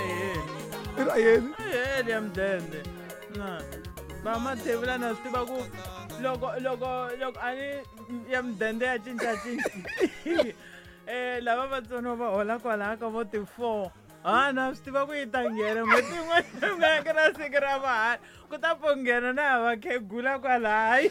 heli. I ra yini? A yi heli ya mudende. Na. Va Mathebula na swi tiva ku loko loko loko a ni ya mudende ya cincacinca. Lava vatsoniwa va hola kwalaya ka vo ti-4. Ha na swi tiva ku yi ta nghena n'hweti yin'wana na yin'wana ku na siku ra mahala ku ta pfo nghena na ya vakhegula kwalaya yi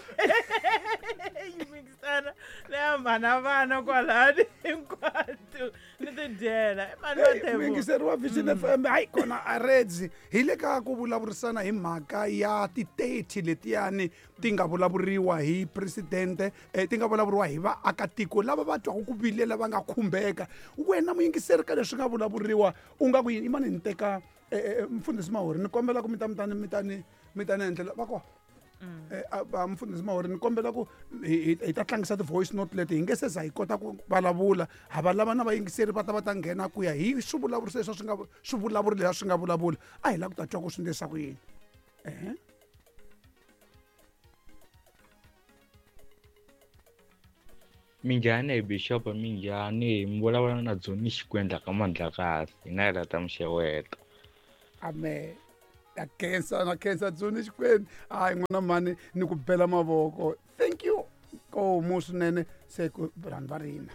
mikisana na ya mhana vana kwalani hinkwato ni tidyela i mani Mathebula. Muyingiseri wa Vision FM, hayi kona a Reds hi le ka ku vulavurisana hi mhaka ya ti-30 letiyani ti nga vulavuriwa hi presidente, ti nga vulavuriwa hi vaakatiko lava va twaka ku vilela va nga khumbeka. Wena muyingiseri ka leswi nga vulavuriwa u nga ku yini? Imani ni teka mfundhisi Mahori, ni kombela ku mi ta mi ta ni mi ta ni mi ta ni endlela va kona. Va mfundhisi Mahori, ni kombela ku hi ta tlangisa ti-voice note leti hi nge se za hi kota ku vulavula. Ha va lava na vayingiseri va ta va ta nghena ku ya hi swivulavuriso leswi swi nga swivulavuri leswi swi nga vulavula. A hi lava ku ta twa ku swi endlisa ku yini. Minjhani hi Bishop, minjhani mi vulavula na Dzoni Xikwendla ka Mandlakazi, hina hi lava ta mi xeweta. Amen. Na khensa, na khensa Dzoni Xikwendla. Hayi n'wana mhani, ni ku bela mavoko. Thank you. Nkomu swinene se ku vanhu va rina.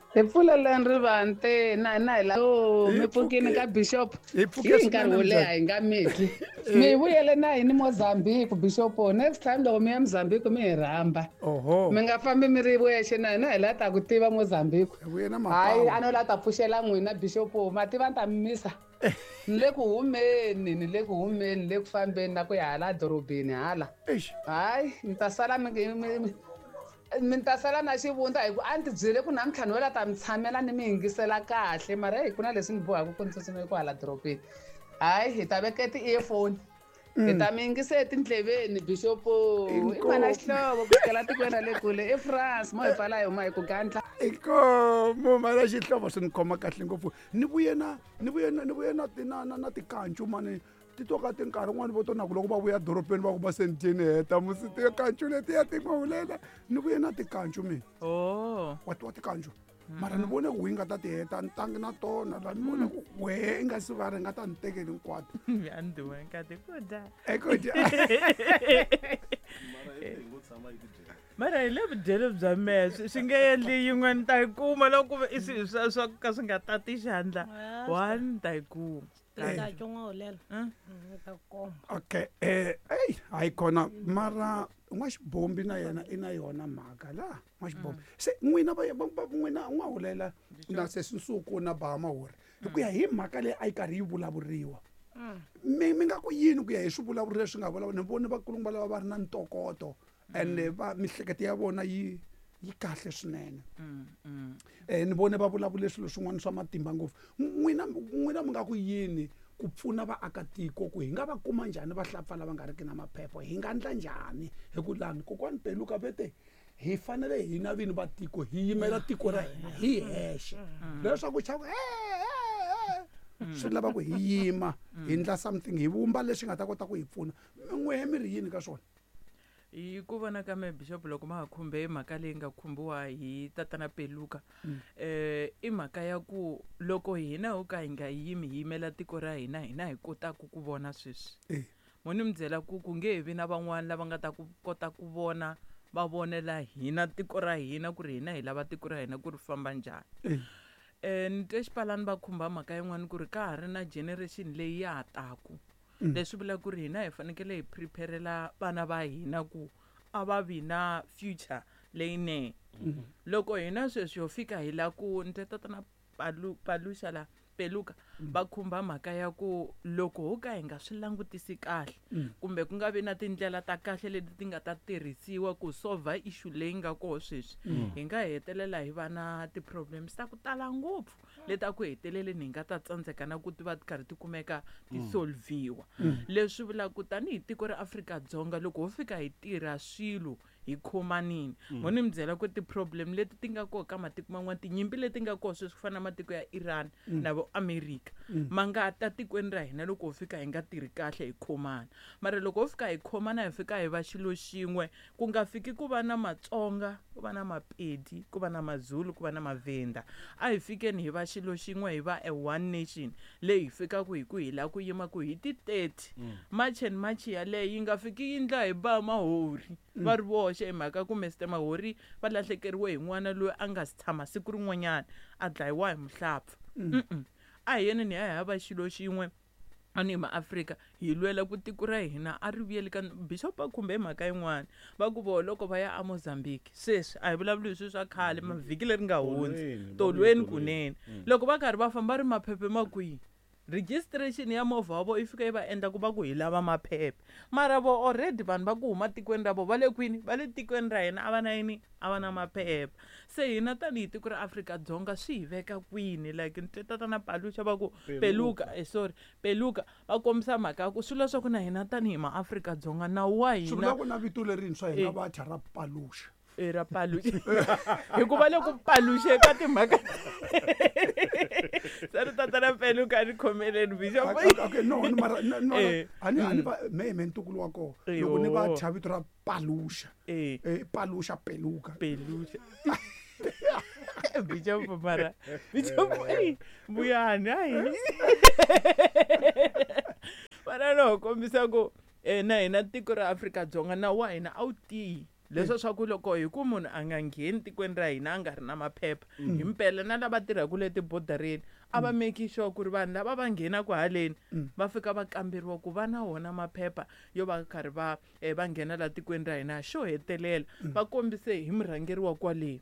Hi pfuleleni rivanti na hina hi la oh, mi pfukini ka Bishop. Hi pfuke Hi nkarhi wo swinene, leha hi nga mitli. Mi vuyele na hini Mozambique Bishop. Next time loko mi ya Mozambique mi hi rhamba. Oho. Mi nga fambi mi ri wexe na hina hi la ta ku tiva Mozambique. Hi vuye na Hayi, mapawu. a no la ta pfuxela n'wina Bishop. Ma tiva ni ta mi misa. Ni le ku humeni, ni le ku humeni, ni le ku fambeni na ku ya hala dorobeni hala. Eish. Hayi, ni ta sala mi mi mi mi ta sala na xivundza hi ku a ni ti byele ku namuntlha ni wela ta mi tshamela ni mi yingisela kahle, mara heyi ku na leswi ni bohaka ku ni tsutsuma ku hala dorobeni. Hayi, hi ta veka ti-earphone. Hi ta mi yingisa etindleveni Bishop. I mana Xihlovo ku sukela tikweni ra le kule i France, mo hi pfala hi huma hi ku gandla. Inkomu mana Xihlovo, swi ni khoma kahle ngopfu. Ni vuye na ni vuye na ni vuye na na na na tikancu mani ti to ka ti nkarhi wun'wani vo to na ku loko va vuya dorobeni va ku va se ni dyeni heta musi tikancu letiya ti n'wahulela. Ni vuye na tikancu mina. Oh. Wa tiwa tikancu? Mara ni vone ku yi nga ta ti heta ni tangi na tona la ni vone ku wehe i nga si va ri nga ta ni tekeli hinkwato. A ni dyiwe nkati ku dya. Eku dya. Mara hi le vudyelo bya mehe swi nge endli yin'we ni ta yi kuma loko ku ve i swilo swa ka swi nga tati xandla. One ni ta yi kuma. Ta twa n'wahulela. Ni ta ku komba. Okay, ey, hayi kona mara n'waxibombi na yena i na yona mhaka la n'waxibombi. Se n'wina va va n'wina n'wahulela na sesi Nsuku na Ba Mahori hi ku ya hi mhaka leyi a yi karhi yi vulavuriwa. Mi nga ku yini ku ya hi swivulavuri leswi nga vulavula? Ni vone vakulukumba lava va ri na ntokoto and va mihleketo ya vona yi kahle swinene. Ni vone va vulavule swilo swin'wana swa matimba ngopfu. N'wina mi nga ku yini ku pfuna vaakatiko ku hi nga va kuma njhani vahlapfa lava nga riki na maphepha? Hi nga endla njhani? Hi ku lani kokwani Peluka ve te hi fanele hina vini va tiko hi yimela tiko ra hina hi hexe. Leswaku chava swi lava ku hi yima hi endla something, hi vumba leswi nga ta kota ku hi pfuna. N'wehe mi ri yini ka swona? Hi ku vona ka me Bishop, loko ma ha khumbe mhaka leyi nga khumbiwa hi tatana Peluka, i mhaka ya ku loko hina ho ka hi nga yimi hi yimela tiko ra hina, hina hi kotaka ku vona sweswi. Mo ni mi byela ku ku nge he vi na van'wani lava nga ta ku kota ku vona va vonela hina tiko ra hina ku ri hina hi lava tiko ra hina ku ri famba njhani. Ni twe xipalani va khumba mhaka yin'wani ku ri ka ha ri na generation leyi ya ha taku. Leswi vulaka ku ri hina hi fanekele hi preparela vana va hina ku a va vi na future leyinene. Loko hina sweswi ho fika hi la ku ni twe tatana Paluxa la Peluka va khumba mhaka ya ku loko ho ka hi nga swi langutisi kahle kumbe ku nga vi na tindlela ta kahle leti ti nga ta tirhisiwa ku solve issue leyi nga koho sweswi, hi nga hetelela hi va na ti-problems ta ku tala ngopfu leti a ku heteleleni hi nga ta tsandzeka na ku ti va ti karhi ti kumeka ti solviwa. Leswi vulaka ku tanihi tiko ra Afrika-Dzonga loko ho fika hi tirha swilo Hi khomanini. Mo ni mi byela ku ti-problem leti ti nga koho ka matiko man'wana, tinyimpi leti nga koho sweswi ku fana na matiko ya Iran na vo America, ma nga ta tikweni ra hina loko ho fika hi nga tirhi kahle hi khomana. Mara loko ho fika hi khomana, hi fika hi va xilo xin'we, ku nga fiki ku va na Matsonga, ku va na Mapedi, ku va na Mazulu, ku va na Mavhenda, a hi fikeni hi va xilo xin'we, hi va a one nation leyi hi fikaka hi ku hi lava ku yima ku hi ti 30 March and March yaleyo yi nga fiki yi ndla hi ba Mahori va ri voxe, hi mhaka ku Mr Mahori va lahlekeriwe hi n'wana loyi a nga si tshama siku rin'wanyana a dlayiwa hi muhlapfa. A hi yeneni hi ya hi ya va xilo xin'we ani hi maAfrika, hi lwela ku tiko ra hina a ri vuyeli ka. Bishop va khumbe mhaka yin'wana, va ku voho loko va ya aMozambique sweswi, a hi vulavuli hi swilo swa khale, mavhiki leri nga hundzi. Tolweni, va tolweni vuye. Kunene loko va karhi va famba ri maphephe ma kwihi, registration ya movha wa vo yi fika yi va endla ku va ku hi lava maphephe, mara vo already vanhu va ku huma tikweni ra vo va le kwini, va le tikweni ra hina, a va na yini, a va na maphephe. Se hina tanihi tiko ra Afrika-Dzonga swi hi veka kwini? Like ni twe tatana Paluxa va ku Peluka, sorry, Peluka, va kombisa mhaka ya ku swi leswaku na hina tanihi maAfrika-Dzonga nawu wa Swi hina vula ku na vito lerintshwa hi nga Eh. va thya ra Paluxa. E, ra Paluxa, hikuva le ku paluxe ka timhaka sari. Tatana Peluka, ni khomeleni, bishop. Okay, no, ni mara no, Eh. a ni va me ntukulu wa kona loko ni va Eyo. thya vito ra Paluxa. Eh. Paluxa, Peluka. Peluxa, bishop, mara bishop, eyi, vuyani hayi vana no kombisa ku na hina tiko ra Afrika-Dzonga nawu wa hina a wu tiyi leswo swa ku loko hi ku munhu a nga ngheni tikweni ra hina a nga ri na maphepha. Hi mpela na lava tirhaka le tibodareni a va make sure ku ri vanhu lava va nghenaka haleni va fika va kamberiwa ku va na wona maphepha yo va karhi va va nghena la tikweni ra hina. Xo hetelela, va kombise hi murhangeri wa kwale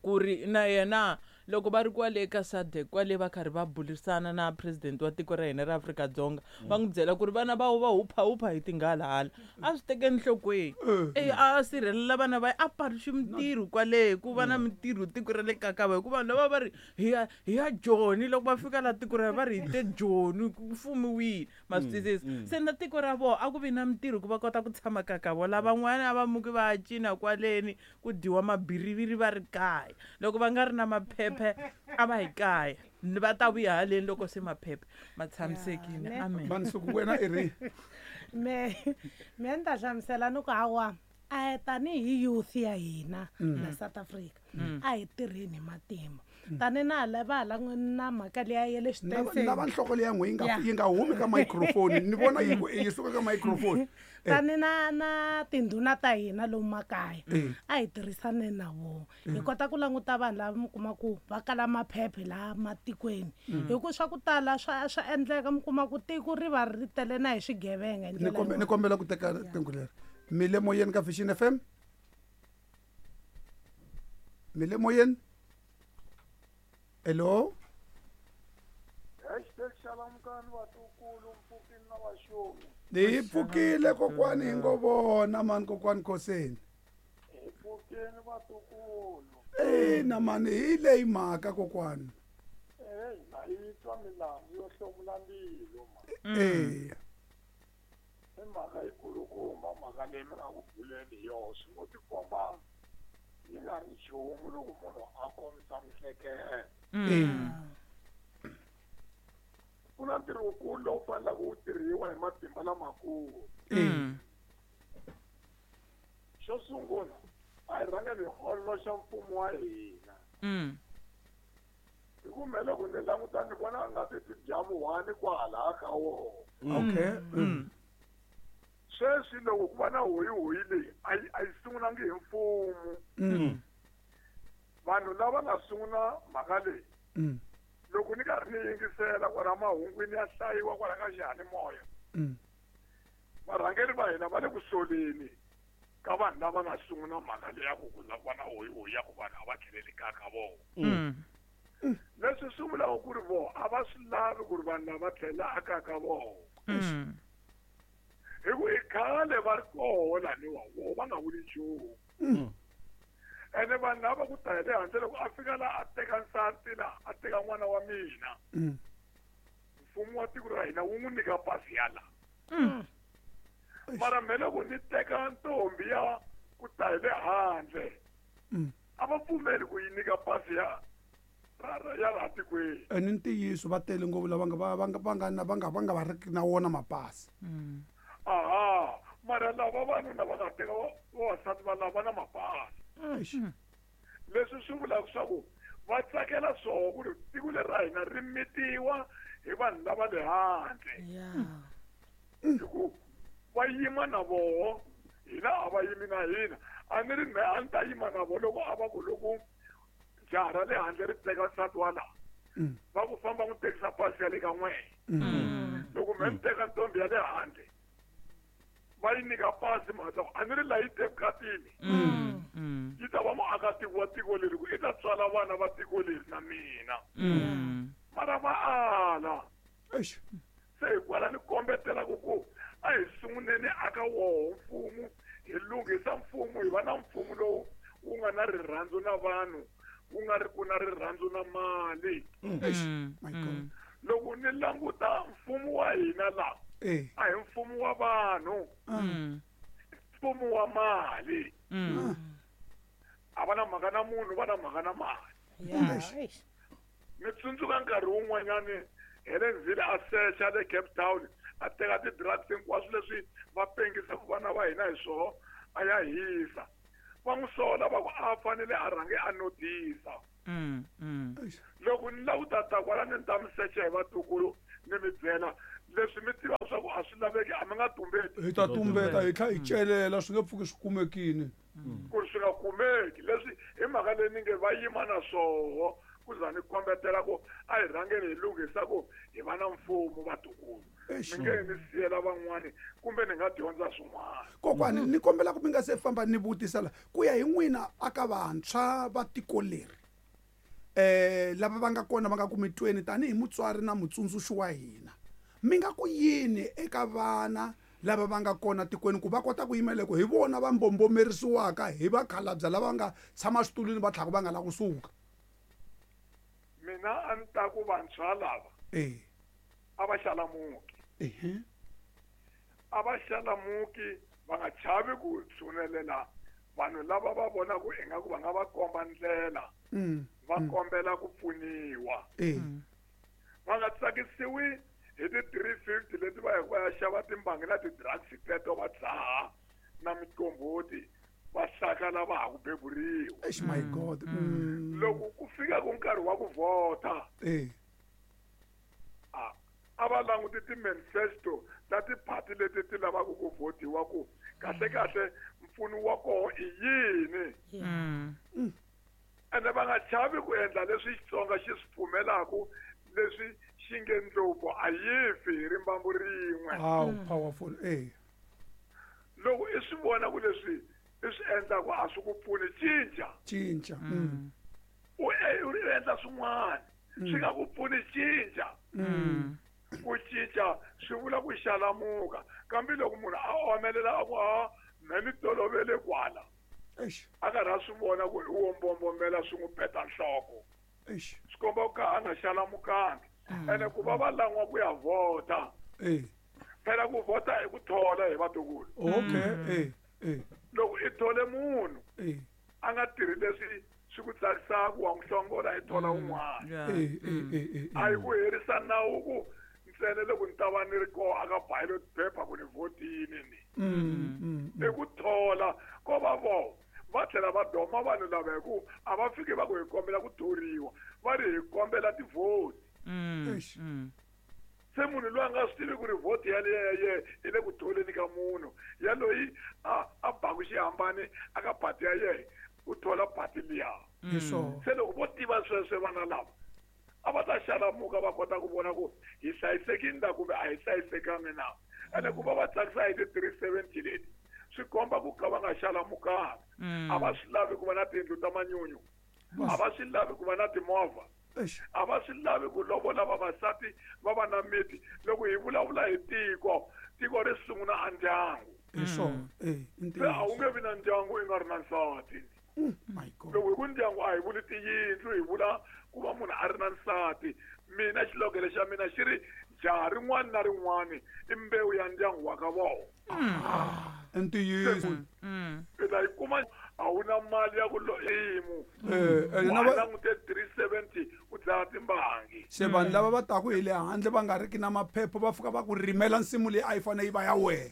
ku ri na yena loko va ri kwale ka SADC kwale va karhi va burisana na president wa tiko ra hina ra Afrika-Dzonga, va n'wi byela ku ri vana va va huphahupha hi tinghala a swi teke enhlokweni, e a sirhelela vana va a paluxi mintirho kwale ku va na mintirho tiko ra le kakava, hikuva vanhu lava va ri hi ya Joni, loko va fika la tiko ra va ri hi te Joni ku fumiwile, ma swi twisisa. Se na tiko ra vona a ku vi na mintirho ku va kota ku tshama kakavo. Lavan'wana a va muki va ya cina kwaleni ku dyiwa mabiriviri va ri kaya, loko va nga ri na maphephe a va hi kaya, va ta vuya haleni loko se maphephe ma tshamisekile. Ne. Amen. Vansuku, wena i ri Me ni ta hlamusela ni ku hawa a hi tanihi youth ya hina la South Africa, a hi tirheni hi matimba tani na hala va hala na mhaka liya ya le Na va xitenseni. nhloko leya n'we yi nga Yeah. yi nga humi ka microphone, ni vona yi ku yi suka ka microphone. Tani na tindhuna ta hina lomu makaya, Eh. a hi tirhisaneni na vona, hi kota ku languta vanhu lava mi kuma ku va kala maphephe laha matikweni, hi ku swa ku tala swa endleka mi kuma ku tiko ri va ri tele na hi swigevenga hi Ni ndlela ni yin'wana. kombela ku teka riqingho leri. Mi le moyeni ka Vision FM, mi le moyeni, hello. #Xalamukani vatukulu, mpfukini na vaxomi. Hi pfukile kokwani, hi ngo vona mani kokwani Khoseni. Hi pfukeni vatukulu. Ina mani, hi leyi mhaka kokwani. Eyi, na yi twa milandzu yo hlomula mbilu ma. Eya. I mhaka yikulukumba mhaka leyi mi nga ku buleni hi yoho, swi ngo tikomba yi nga ri nchumu loko munhu a kombisa mihleketo. Ku na ntirho wukulu lowu faneleke wu tirhiwa hi matimba lamakulu. Xo sungula, a hi rhangeni hi ololoxa mfumo wa hina, hi ku me loko ni languta ni vona nga ti tidyamuhani kwalaya ka wona. Okay. Sweswi loko ku va na hoyihoyi leyi a yi sungulangi hi mfumo. Vanhu lava nga sungula mhaka leyi, loko ni karhi ni yingisela kwala mahungwini ya hlayiwa kwala ka xiyanimoya, varhangeri va hina va le ku soleni ka vanhu lava nga sungula mhaka leyi ya ku la ku va na hoyihoyi ya ku vanhu a va tlheleli kaya ka vona. Leswi swi vulaka ku ri voho a va swi lavi ku ri vanhu lava tlhela akaya ka vona, hi ku i khale va ri koho laniwa, voho va nga vuli nchumu. Ene vanhu lava ku ta hi le handle, loko a fika la a teka nsati la a teka n'wana wa mina, mfumo wa tiko ra hina wu n'wi nyika pasi ya la. Mara me loko ni teka ntombi ya ku ta hi le handle a va pfumeli ku yi nyika pasi ya ya laha tikweni. Ene ntiyiso va tele ngopfu lava nga va riki na wona mapasi. Aha, mara lava vanuna va nga teka vavasati va lava na mapasi. Leswi swi vulaka swa ku va tsakela swoho ku ri tiko leri ra hina ri mitiwa hi vanhu lava le handle. Hi ku va yima na voho, hina a va yimi na hina. A ni ri mehe a ni ta yima na voho loko a va ku loko jaha ra le handle ri teka nsati wa laha, va ku famba n'wi tekisa pasi ya le ka n'wehe. Loko mehe ni teka ntombi ya le handle, va yi nyika pasi mhaka a ni ri laha yi te vukatini. Yi ta va muakatiko wa tiko leri ku i ta tswala vana va tiko leri na mina. Mara va ala. Se hikwalaho ni kombetela ku a hi sunguleni aka woho mfumo, hi lunghisa mfumo, hi va na mfumo lowu wu nga na rirhandzu na vanhu, wu nga ri ku na rirhandzu na mali. Loko ni languta mfumo wa hina laha, a hi mfumo wa vanhu, mfumo wa mali. A va na mhaka na munhu, va na mhaka na mali. Ni tsundzuka nkarhi wun'wanyani Helen Zille a secha le Cape Town, a teka ti-drugs hinkwaswo leswi va pengisaka vana va hina hi swoho, a ya hisa. Va n'wi sola va ku a fanele a rhange a notisa. Loko ni lava ku ta kwala ni ta mi secha hi vatukulu ni mi byela leswi mi tivaka swa ku a swi laveki, a mi nga tumbeti. Hi ta tumbeta hi tlhela hi celela, swi nge pfuki swi kumekile. Ku ri swi nga kumeki leswi hi mhaka leyi ni nge va yima na swoho, ku za ni kombetela ku a hi rhangeni hi lunghisa ku hi va na mfumo vatukulu. Mi nge ni siyela van'wani kumbe ni nga dyondza swin'wana. Kokwani ni kombela ku mi nga se famba ni vutisa la ku ya hi n'wina aka vantshwa va tiko leri lava va nga kona va nga ku mitweni tanihi mutswari na mutsundzuxi wa hina, mi nga ku yini eka vana lava va nga kona tikweni ku va kota ku yimela ku hi vona va mbombomerisiwaka hi vakhalabya lava nga tshama switulwini va tlhaka va nga la kusuka? Mina a ni ta ku vantshwa lava a va xalamuki. A va xalamuki, va nga chavi ku tshunelela vanhu lava va vonaka ingaku va nga va komba ndlela, va kombela ku pfuniwa. Va nga tsakisiwi hi ti-350 leti va yaka va ya xava timbangi na ti-drugs teto va dzaha na miqombhoti, va hlakala va ha ku beburiwa. My God. Loko ku fika ku nkarhi wa ku vhota, a va languti ti-manifesto ta tiphati leti ti lavaka ku vhotiwa ku kahle kahle mpfuno wa koho i yini. Ene va nga chavi ku endla leswi Xitsonga xi swi pfumelaku, leswi xi nge ndlopfu a yi fi hi rimbambu rin'we. How powerful. Loko i swi vona ku leswi i swi endlaku a swi ku pfuni, cinca. Cinca. U endla swin'wana swi nga ku pfuni, cinca. Ku cinca swi vula ku xalamuka, kambe loko munhu a omelela a ku a me ni tolovele kwala, a karhi a swi vona ku i wo mbombombela swi n'wi peta nhloko, swi komba ku ka a nga xalamukangi. Ene ku va va lan'wa ku ya vhota, phela ku vhota i ku thola hi vatukulu. Loko i thole munhu a nga tirhi leswi swi ku tsakisaka, wa n'wi hlongola i thola un'wana. A hi ku herisa nawu ku ntsena loko ni ta va ni ri koho aka ballot paper ku ni vhotini ni. I ku thola ko va voho va tlhela va doma vanhu lava hi ku a va fiki va ku hi kombela ku thoriwa, va ri hi kombela tivhoti. Se munhu loyi a nga swi tivi ku ri vhoti yaleyo ya yena i le ku tholeni ka munhu yaloyi a baku xihambani aka pati ya yena, u thola pati liya. Se loko vo tiva sweswo vana lava a va ta xalamuka va kota ku vona ku hi hlayisekile na kumbe a hi hlayisekangi na. Ene ku va va tsakisa hi ti-370 leti swi komba ku ka va nga xalamukanga. A va swi lavi ku va na tiyindlu ta manyunyu, a va swi lavi ku va na timovha, a va swi lavi ku lovola vavasati va va na miti. Loko hi vulavula hi tiko, tiko ri sungula a ndyangu. Se a wu nge vi na ndyangu i nga ri na nsati. Loko hi ku ndyangu a hi vuli tiyindlu, hi vula ku va munhu a ri na nsati. Mina xilogelo xa mina xi ri Jaha rin'wana na rin'wana i mbewu ya ndyangu wa ka vona. Ntiyiso. I ta yi kuma a wu na mali ya ku loyimu. Wa langute 370 u dlaya timbangi. Se vanhu lava va taku hi le handle va nga riki na maphepha va fika va ku rimela nsimu leyi a yi fanele yi va ya wena.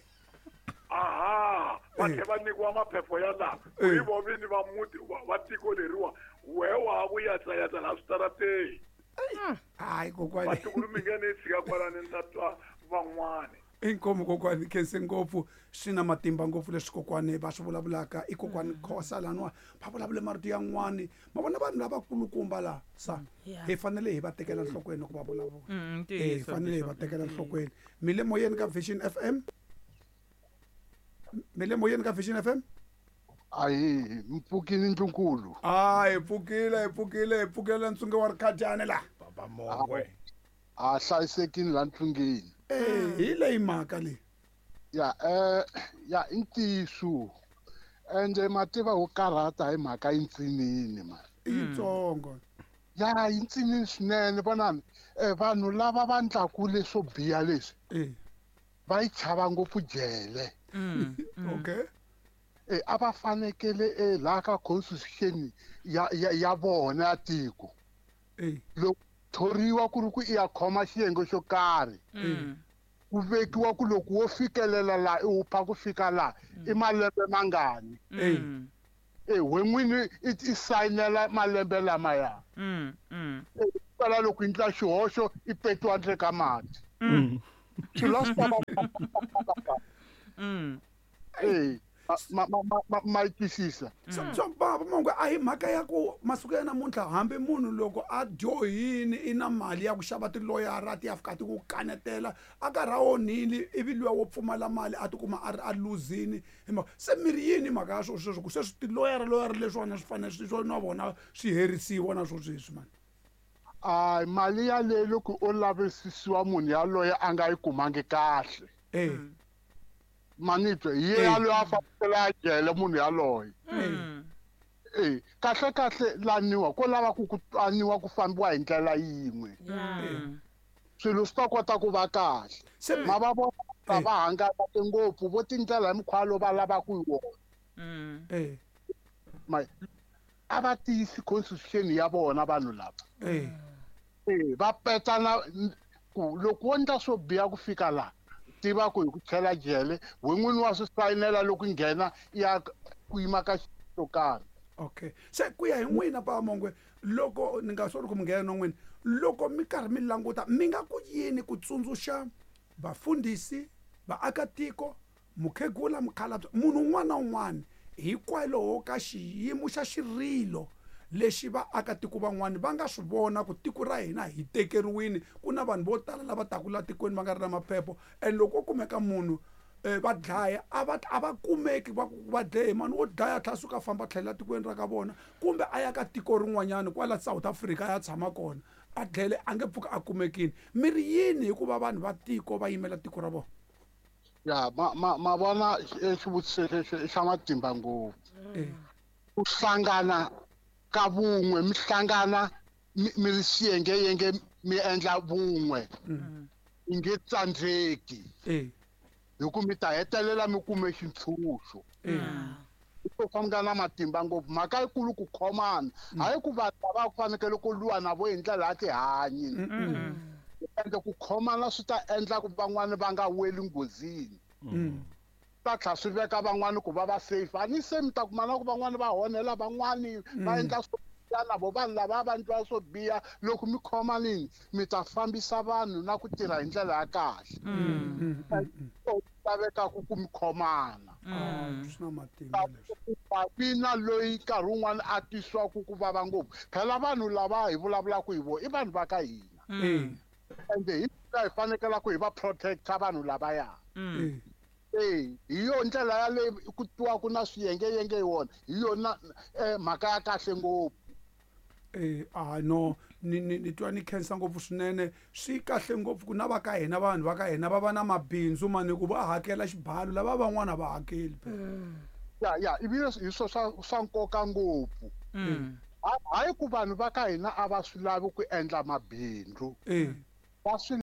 Aha, va tlhela va nyikiwa maphepha ya laha. Hi vo vini va muti va tiko leriwa wehe wa ku yatsayatsa laha switarateni. Hayi kokwani. Vatukulu mi nge ni tshika kwalani ni ta twa van'wani. Inkomu kokwani, khense ngopfu, swi na matimba ngopfu leswi kokwani va swi vulavulaka. I kokwani Khosa laniwa va vulavule marito yan'wani. Ma vona vanhu lavakulukumba laha sa hi fanele hi va tekela nhlokweni loko va vulavula. Hi fanele hi va tekela nhlokweni. Mi le moyeni ka Vision FM? Mi le moyeni ka Vision FM? Ayi, mpfukile Ndlunkulu. Hi pfukile, hi pfukile, hi pfukile ntsunge wa Rikhajani la. Baba Mongwe. A hlayisekile la ntsungeni. Hi leyi mhaka leyi. Ya, ya i ntiyiso. Ende mativa wo karhata hi mhaka yintsinini ma. I yitsongo. Ya, yintsinini swinene vonani. Vanhu lava va ndlaku leswo biha leswi. Va yi chava ngopfu jele. Okay. A va fanekele laha ka constitution ya vona ya tiko. Loko thoriwa ku ri ku i ya khoma xiyenge xo karhi. Ku vekiwa ku loko wo fikelela laha i wupha ku fika laha i malembe mangani. We n'wini i sayinela malembe lamaya. Kwala loko i endla xihoxo i petiwa ntle ka mati. Swilo swi ta va ma yi twisisa. So Baba Mongwe a hi mhaka ya ku masiku ya namuntlha hambi munhu loko a dyohini i na mali ya ku xava tiloyara ti ya fika ti ku kanetela a karhi a onhile ivi luya wo pfumala mali a tikuma a ri a luzini. Se mi ri yini mhaka ya swo sweswo ku sweswi tiloyara loyara leswiwani swi fanele swi na vona swi herisiwa na swo sweswi mani? A mali yaleyo loko o lavisisiwa munhu yaloye a nga yi kumangi kahle. Manitwe hi yaloye a fanekele a jele munhu yaloye. Kahle kahle laniwa ko lava ku ku twaniwa ku fambiwa hi ndlela yin'we. Swilo swi ta kota ku va kahle. Ma va vona va hangalake ngopfu vo tindlela hi mukhuva lowu va lavaka hi wona. A va tiyisi constitution ya vona vanhu lava. Va petana ku loko wo endla swo biha ku fika laha tiva ku hi ku chela jele we n'wini wa swi sayinela loko nghena ya ku yima ka xo karhi. Okay. Se ku ya hi n'wina Baba Mongwe, loko ni nga sori ku mi nghena na n'wina, loko mi karhi mi languta mi nga ku yini ku tsundzuxa vafundhisi, vaakatiko, mukhegula, mukhalabye, munhu un'wana na un'wana hikwalaho ka xiyimo xa xirilo lexi vaakatiko van'wani va nga swi vona ku tiko ra hina hi tekeriwini, ku na vanhu vo tala lava taka la tikweni va nga ri na maphepha, and loko ko kumeka munhu va dlaya a va kumeki va ku va dlaye mani wo dlaya tlhela suka famba tlhela tikweni ra ka vona kumbe a ya ka tiko rin'wanyana kwala South Africa a ya tshama kona a dlele a nge pfuki a kumekini. Mi ri yini hikuva vanhu va tiko va yimela tiko ra vona? Ya, ma vona xivutiso lexi i xa matimba ngopfu. Ku hlangana ka vun'we, mi hlangana mi ri xiyengeyenge mi endla vun'we. Mi nge tsandzeki. Hi ku mi ta hetelela mi kume xintshunxo. Swo nga na matimba ngopfu. Mhaka yikulu ku khomana. Hayi ku vanhu lava ku fanekele ku lwiwa na vo hi ndlela ya tihanyi. Ende ku khomana swi ta endla ku van'wani va nga weli nghozini. Ta tlhela swi veka van'wani ku va va safe. A ni se mi ta kuma na ku van'wani va honela van'wani va endla swo biha na vo vanhu lava va endliwa swo biha. Loko mi khomanini mi ta fambisa vanhu na ku tirha hi ndlela ya kahle. Lavekaka ku mi khomana. Swi na matimba leswi. Vi na loyi nkarhi wun'wani a twisiwaka ku vava ngopfu. Phela vanhu lava hi vulavulaka hi vona i vanhu va ka hina. Ende hi hi fanekele ku hi va protecta vanhu lavaya. Hi yo ndlela yaleyo ku twiwa ku na swiyengeyenge hi wona, hi yona mhaka ya kahle ngopfu. No, ni twa ni khensa ngopfu swinene. Swi kahle ngopfu ku na va ka hina vanhu va ka hina va va na mabindzu mani ku va hakela xibalo lava van'wana va hakeli phela. Ya, ivi hi swo swa nkoka ngopfu. Hayi ku vanhu va ka hina a va swi lavi ku endla mabindzu. Va swi